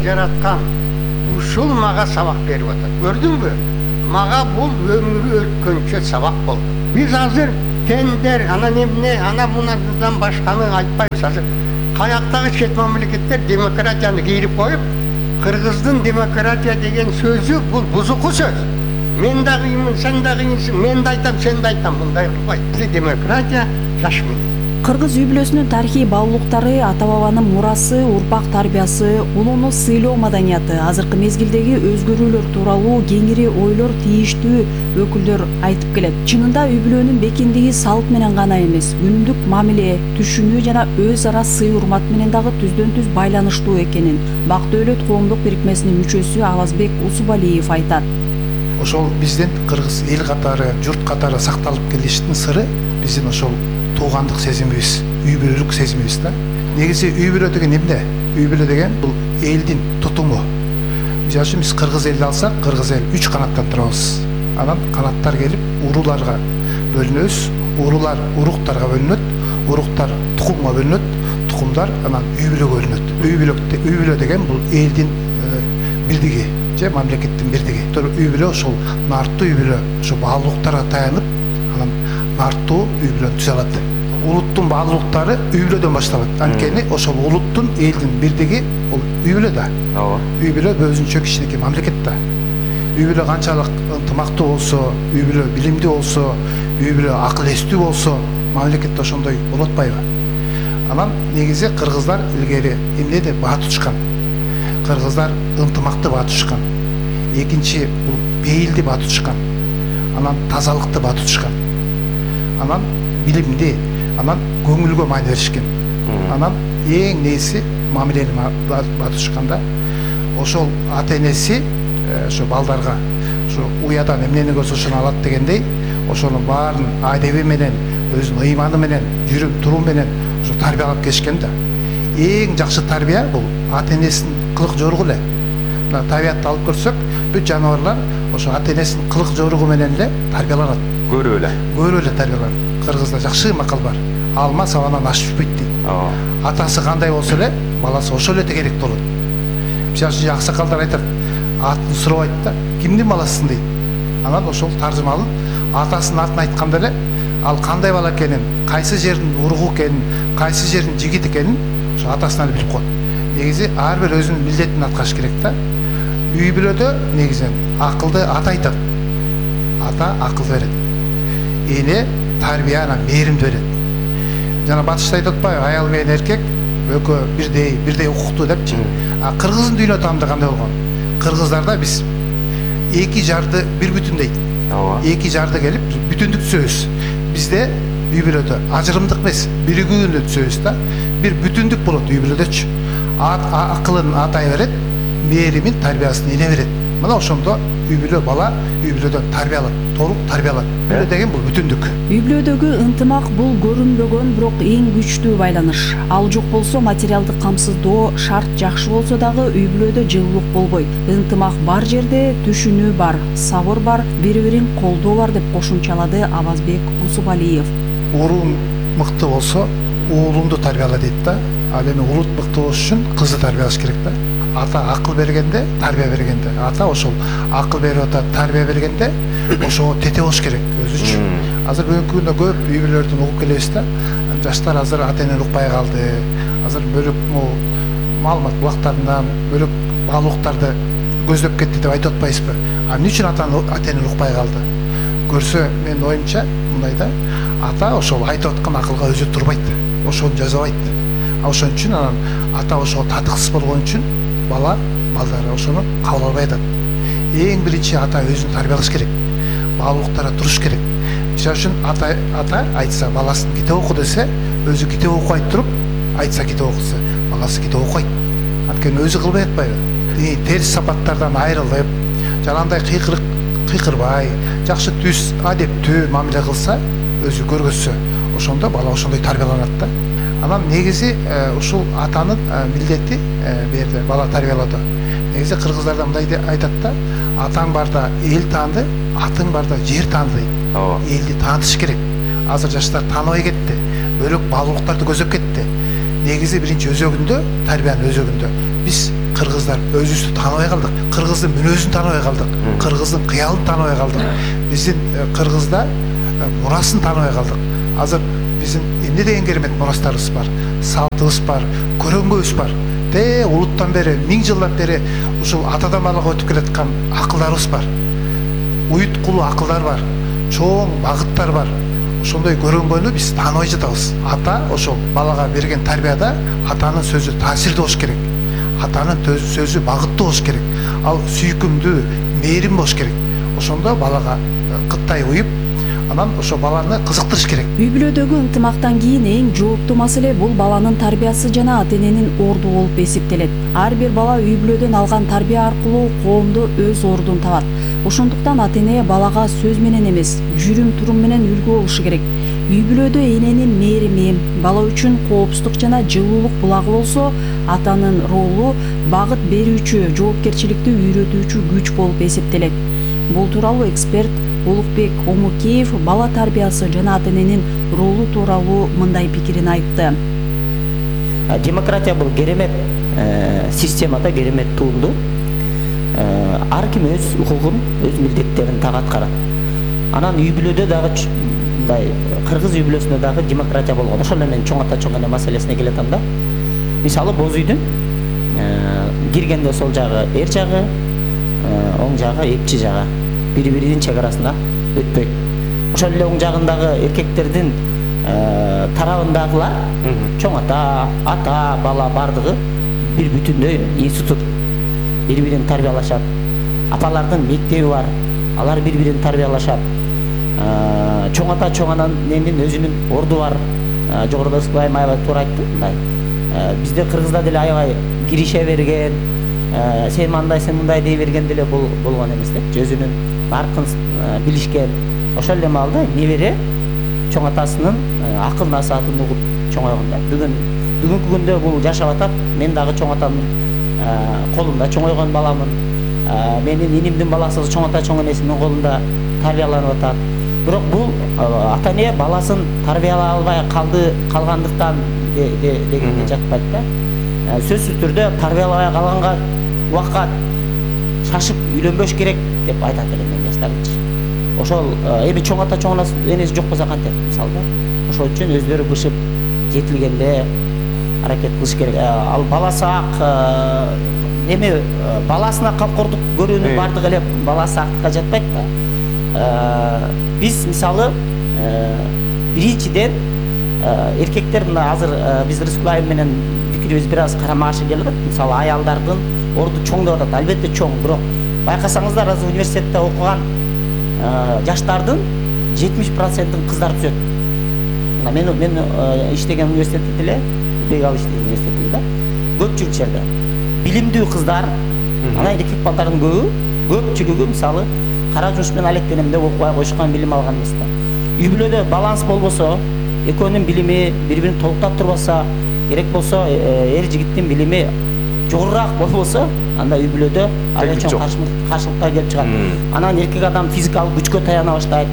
жараткан ушул мага сабак берип атат. Көрдүңбү? Мага бул өмүрү өткөнчө сабак болду. Биз азыр тендер, ана эмне, ана мунадан башканы айтпайбыз. Азыр каяктагы чет мамлекеттер демократияны кийирип коюп, Кыргыздын демократия деген сөзү бул бузуку сөз. Мен да кыйынмын, сен да кыйынсың, мен да айтам, сен да айтам, мындай кылбайт. Демократия жаш менен. Кыргыз үй-бүлөсүнүн тарыхый баалуулуктары, ата-бабанын мурасы, урпак тарбиясы, улууну сыйлоо маданияты, азыркы мезгилдеги өзгөрүүлөр тууралуу кеңири ойлор тийиштүү өкүлдөр айтып келет. Чынында үй-бүлөнүн бекиндиги салт менен гана эмес, күндүк мамиле, түшүнүү жана өз ара сый-урмат менен дагы түздөн-түз байланыштуу экенин Бак Дөөлөт коомдук бирикмесинин мүчөсү Авазбек Усубалиев айтат. Ошол биздин кыргыз эл катары, журт катары сакталып келиштин сыры биздин ошол туугандык сезимибиз, үй-бүлөлүк сезимибиз да. Негизи үй-бүлө деген эмне? Үй-бүлө деген бул элдин тутуму. Мисалы үчүн биз кыргыз элди алсак, кыргыз эл 3 канаттан турабыз. Анан канаттар келип урууларга бөлүнөбүз, уруулар уруктарга бөлүнөт, уруктар тукумга бөлүнөт, тукумдар анан үй-бүлөгө бөлүнөт. Үй-бүлө деген бул элдин бирдиги же мамлекеттин бирдиги. Үй-бүлө ошол нарттуу үй-бүлө, ошо баалуулуктарга таянып, анан нарттуу үй-бүлөнү түзө алат. Улуттун баалуулуктары үй-бүлөдөн башталат. Анткени ошол улуттун элдин бирдиги бул үй-бүлө да. Үй-бүлө өзүнчө кичинекей мамлекет да. Үй-бүлө канчалык ынтымактуу болсо, үй-бүлө билимдүү болсо, үй-бүлө акыл эстүү болсо, мамлекетте ошондой болот атпайбы? Анан негизи кыргыздар илгери эмнеде баа тутушкан? Кыргыздар ынтымакты баа тутушкан. Экинчи бул бейилди баа тутушкан. Анан тазалыкты баа тутушкан. Анан билимди, анан көңүлгө маани беришкен. Анан эң нээси мамилени баа тутушканда ошол ата энеси ошо балдарга ошо уядан эмнени көрсө ошону алат дегендей, ошонун баарын адеби менен, өзүнүн ыйманы менен, жүрүм турум менен ошо тарбиялап келишкен да. Эң жакшы тарбия бул ата энесинин кылык жоругу эле. Мына табиятты алып көрсөк, бүт жаныбарлар ошо ата энесинин кылык жоругу менен эле тарбияланат. Көрүп эле тарбияланат. Кыргызда жакшы макал бар. Алма сабанан ашып түшпөйт дейт. Атасы кандай болсо эле, баласы ошол эле тегерек болот. Мисалы үчүн аксакалдар айтат, атын сурабайт да, кимдин баласысың дейт. Анан ошол таржымалын атасынын атын айтканда эле, ал кандай бала экенин, кайсы жердин уругу экенин, кайсы жердин жигит экенин ошо атасынан эле билип коет. Негизи ар бир өзүнүн милдетин аткарыш керек да. Үй-бүлөдө негизинен акылды ата айтат. Ата акыл берет. Эне тарбия анан мээримди берет. Жана батышта айтат атпайбы, аял менен эркек экөө бирдей укуктуу депчи. А кыргыздын дүйнө таамында кандай болгон? Кыргыздарда биз эки жарды бир бүтүн дейт. Эки жарды келип бүтүндүк түзөбүз. Бизде үй-бүлөдө ажырымдык эмес, биригүүнү түзөбүз да. Бир бүтүндүк болот үй-бүлөдөчү. Акылын атай берет, мээримин тарбиясын эне берет. Мына ошондо үй-бүлө бала үй-бүлөдөн тарбияланат, толук тарбияланат. Үй-бүлө деген бул бүтүндүк. Үй-бүлөдөгү ынтымак бул көрүнбөгөн, бирок эң күчтүү байланыш. Ал жок болсо материалдык камсыздоо шарт жакшы болсо дагы үй-бүлөдө жылуулук болбойт. Ынтымак бар жерде түшүнүү бар, сабыр бар, бири-бирин колдоо бар деп кошумчалады Авазбек Усубалиев. Уруң мыкты болсо, уулуңду тарбияла дейт да. Ал эми улут мыкты болуш үчүн кызды тарбиялаш керек да. Ата акыл бергенде, тарбия бергенде, ата ошол акыл берип атат, тарбия бергенде ошого тете болуш керек өзүчү. Азыр бүгүнкү күндө көп үй-бүлөлөрдөн угуп келебиз да. Жаштар азыр ата энени укпай калды. Азыр бөлөк маалымат булактарынан бөлөк баалуулуктарды көздөп кетти деп айтып атпайбызбы? Эмне үчүн ата энени укпай калды? Көрсө, менин оюмча мындай да, ата ошол айтып аткан акылга өзү турбайт, ошону жазабайт. Ошон үчүн анан ата ошого татыксыз болгон үчүн балдары ошону кабыл албай атат. Эң биринчи ата өзүн тарбиялаш керек. Баалуулуктарга туруш керек. Мисалы үчүн ата айтса баласын китеп оку десе, өзү китеп окубай туруп, айтса китеп окуса, баласы китеп окуйт. Анткени өзү кылбай атпайбы? Терс сапаттардан айрылып, жанагындай кыйкырбай, жакшы түз, адептүү мамиле кылса, өзү көргөзсө, ошондо бала ошондой тарбияланат да. Анан негизи ушул атанын милдети берди бала тарбиялоодо. Негизи кыргыздарда мындай айтат да, атаң барда эл таанды, атың барда жер таанды дейт. Элди таанытыш керек. Азыр жаштар тааныбай кетти. Бөлөк баалуулуктарды көздөп кетти. Негизи биринчи өзөгүндө, тарбиянын өзөгүндө биз кыргыздар өзүбүздү тааныбай калдык, кыргыздын мүнөзүн тааныбай калдык, кыргыздын кыялын тааныбай калдык, биздин кыргызда мурасын тааныбай калдык. Азыр биздин эмне деген керемет мурастарыбыз бар, салтыбыз бар, көрөнгөбүз бар. Улуттан бери, 1000 жылдан бери ушул атадан балага өтүп келаткан акылдарыбыз бар. Уют кулу акылдар бар, чоң багыттар бар. Ошондой көрөнгөнү биз тааныбай жатабыз. Ата ошол балага берген тарбияда атанын сөзү таасирдүү болуш керек. Атанын сөзү багыттуу болуш керек. Ал сүйкүмдүү, мээрим болуш керек. Ошондо балага кыттай уюп, анан ошо баланы кызыктырыш керек. Үй бүлөдөгү ынтымактан кийин эң жооптуу маселе бул баланын тарбиясы жана ата-эненин орду болуп эсептелет. Ар бир бала үй бүлөдөн алган тарбия аркылуу коомдо өз ордун табат. Ошондуктан ата-эне балага сөз менен эмес, жүрүм-турум менен үлгү болушу керек. Үй бүлөдө эненин мээрими, бала үчүн коопсуздук жана жылуулук булагы болсо, атанын ролу багыт берүүчү, жоопкерчиликти үйрөтүүчү күч болуп эсептелет. Бул тууралуу эксперт Улукбек Омукеев бала тарбиясы жана ата-эненин ролу тууралуу мындай пикирин айтты. Демократия бул керемет системада керемет туунду. Ар ким өз укугун, өз милдеттерин так аткарат. Анан үй бүлөдө дагы мындай кыргыз үй бүлөсүндө дагы демократия болгон. Ошол эле чоң ата чоң эне маселесине келатам да. Мисалы боз үйдүн киргенде сол жагы эр жагы, оң жагы эпчи жагы бири-биринин чек арасында өтпөйт. Ошол эле оң жагындагы эркектердин тарабындагылар чоң ата, бала бардыгы бир бүтүндөй институт. Бири-бирин тарбиялашат. Апалардын мектеби бар. Алар бири-бирин тарбиялашат. Чоң ата чоң ананын өзүнүн орду бар. Жогоруда Ысыкбай аябай туура айтты. Бизде кыргызда деле аябай кирише берген, сен мындай, сен мындай дей берген деле болгон эмес да. Өзүнүн наркын билишкен. Ошол эле маалда небере чоң атасынын акыл насаатын угуп чоңойгон да. Бүгүнкү күндө бул жашап атат. Мен дагы чоң атамдын колунда чоңойгон баламын. Менин инимдин баласы чоң ата чоң энесинин колунда тарбияланып атат. Бирок бул ата-эне баласын тарбиялай албай калгандыктан дегенге жатпайт да. Сөзсүз түрдө тарбиялабай калганга убакка шашып үйлөнбөш керек деп айтат элем мен жаштарчы. Ошол эми чоң ата чоң энеси жок болсо кантет мисалда. Ошол үчүн өздөрү бышып жетилгенде аракет кылыш керек. Ал баласы ак эми баласына камкордук көрүүнүн бардыгы эле баласы актыкка жатпайт да. Биз мисалы биринчиден эркектер мына азыр биз Рыскулаев менен пикирибиз бир аз карама каршы келип атат. Мисалы аялдардын орду чоң деп атат. Албетте чоң, бирок байкасаңыздар азыр университетте окуган жаштардын 70%-ын кыздар түзөт. Мен иштеген университетте деле, бегал иштеген университетте да. Көпчүлүк жерде билимдүү кыздар, анан эркек балдардын көпчүлүгү мисалы кара жумуш менен алектенем деп окубай коюшкан, билим алган эмес да. Үй бүлөдө баланс болбосо, экөөнүн билими бири-бирин толуктап турбаса, керек болсо эр жигиттин билими жогорураак болбосо, анда үй бүлөдө аябай чоң каршылыктар келип чыгат. Анан эркек адам физикалык күчкө таяна баштайт,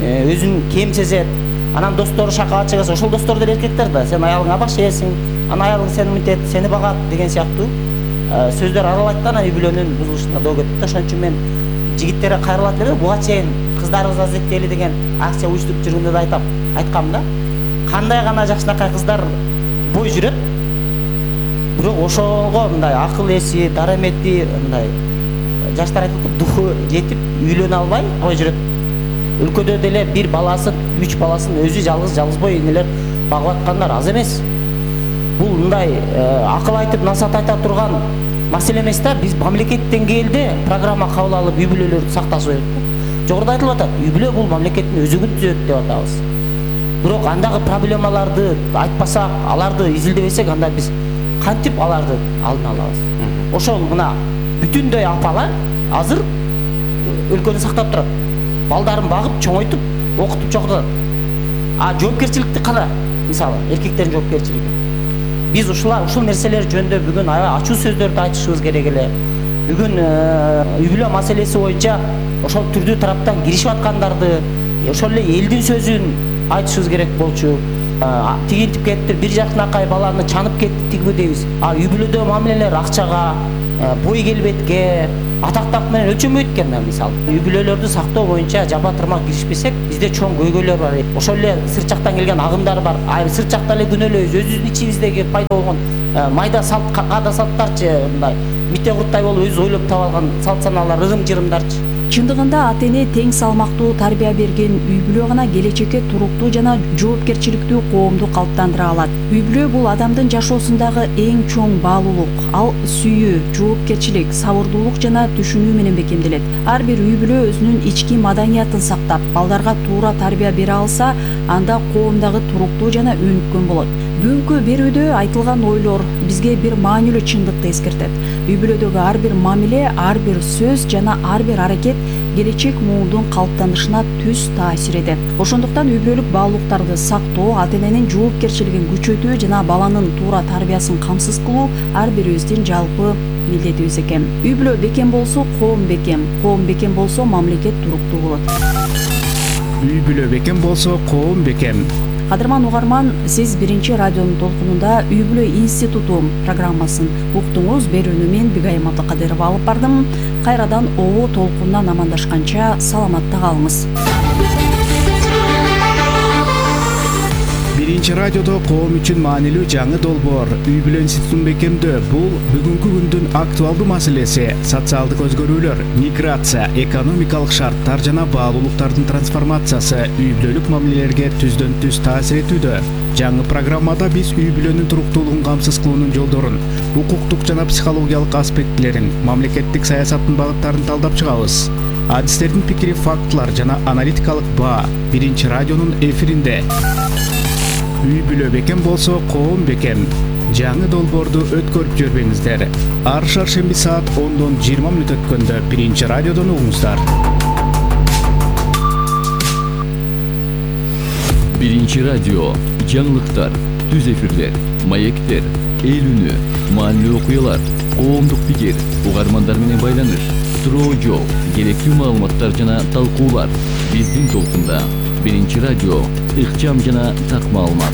өзүн кем сезет. Анан достору шакалат чыгаса, ошол достор деле эркектер да. Сен аялыңа баш ээсиң, анан аялың сени мынтет, сени багат деген сыяктуу сөздөр аралайт да, анан үй бүлөнүн бузулушуна доо кетет да. Ошон үчүн мен жигиттерге кайрылат элем, буга чейин кыздарыбызды азектейли деген акция уюштуруп жүргөндө да айткам да. Кандай гана жакшынакай кыздар бой жүрөт, бирок ошого мындай акыл эси, дарамети, мындай жаштар айтат, духу жетип үйлөнө албай бой жүрөт. Өлкөдө деле бир баласын, 3 баласын өзү жалгызбой энелер багып аткандар аз эмес. Бул мындай акыл айтып, насаат айта турган маселе эмес да. Биз мамлекет деңгээлде программа кабыл алып үй бүлөлөрдү сакташ керек да. Жогоруда айтылып атат, үй бүлө бул мамлекеттин өзөгүн түзөт деп атабыз. Бирок андагы проблемаларды айтпасак, аларды изилдебесек, анда биз кантип аларды алдын алабыз? Ошол мына бүтүндөй апалар азыр өлкөнү сактап турат. Балдарын багып, чоңойтуп, окутуп чогултат. Жоопкерчиликти кана? Мисалы, эркектердин жоопкерчилиги. Биз ушул нерселер жөнүндө бүгүн аябай ачуу сөздөрдү айтышыбыз керек эле. Бүгүн үй бүлө маселеси боюнча ошол түрдүү тараптан киришип аткандарды, ошол эле элдин сөзүн айтышыбыз керек болчу. Тигинтип кетти, бир жакынакай баланы чанып кетти тигиби дейбиз. Үй бүлөдө мамилелер акчага, бой келбетке, атактак менен өлчөнбөйт экен. Мисалы үй бүлөлөрдү сактоо боюнча жаба турмак киришпесек, бизде чоң көйгөйлөр бар. Ошол эле сырт жактан келген агымдар бар. Сырт жакта эле күнөөлөйбүз. Өзүбүздүн ичибиздеги пайда болгон майда салт, каада салттарчы, мындай мите курттай болуп өзү ойлоп таап алган салт санаалар, ырым-жырымдарчы. Чындыгында ата-эне тең салмактуу тарбия берген үй бүлө гана келечекке туруктуу жана жоопкерчиликтүү коомду калыптандыра алат. Үй бүлө бул адамдын жашоосундагы эң чоң баалуулук. Ал сүйүү, жоопкерчилик, сабырдуулук жана түшүнүү менен бекемделет. Ар бир үй бүлө өзүнүн ички маданиятын сактап, балдарга туура тарбия бере алса, анда коом дагы туруктуу жана өнүккөн болот. Бүгүнкү берүүдө айтылган ойлор бизге бир маанилүү чындыкты эскертет. Үй бүлөдөгү ар бир мамиле, ар бир сөз жана ар бир аракет келечек муундун калыптанышына түз таасир этет. Ошондуктан үй бүлөлүк баалуулуктарды сактоо, ата-эненин жоопкерчилигин күчөтүү жана баланын туура тарбиясын камсыз кылуу ар бирибиздин жалпы милдетибиз экен. Үй бүлө бекем болсо, коом бекем. Коом бекем болсо, мамлекет туруктуу болот. Үй бүлө бекем болсо, коом бекем. Кадырман угарман, сиз биринчи радионун толкунунда Үй бүлө институту программасын уктуңуз. Берүүнү мен Бигайым Абдыкадырова алып бардым. Кайрадан обо толкундан амандашканча саламатта калыңыз. Биринчи радиодо коом үчүн маанилүү жаңы долбоор Үй бүлө институтун бекемдөө. Бул бүгүнкү күндүн актуалдуу маселеси. Социалдык өзгөрүүлөр, миграция, экономикалык шарттар жана баалуулуктардын трансформациясы үй бүлөлүк мамилелерге түздөн түз таасир этүүдө. Жаңы программада биз үй бүлөнүн туруктуулугун камсыз кылуунун жолдорун, укуктук жана психологиялык аспектилерин, мамлекеттик саясаттын багыттарын талдап чыгабыз. Адистердин пикири, фактылар жана аналитикалык баа биринчи радионун эфиринде. Үй бүлө бекем болсо, коом бекем. Жаңы долбоорду өткөрүп жүрбөңүздөр. Ар шаршемби саат 10:20 өткөндө биринчи радиодон угуңуздар. Биринчи радио, жаңылыктар, түз эфирлер, маектер, эл үнү, маанилүү окуялар, коомдук пикир, угармандар менен байланыш, суроо жооп, керектүү маалыматтар жана талкуулар. Биздин толкунда биринчи радио, ыкчам жана так маалымат.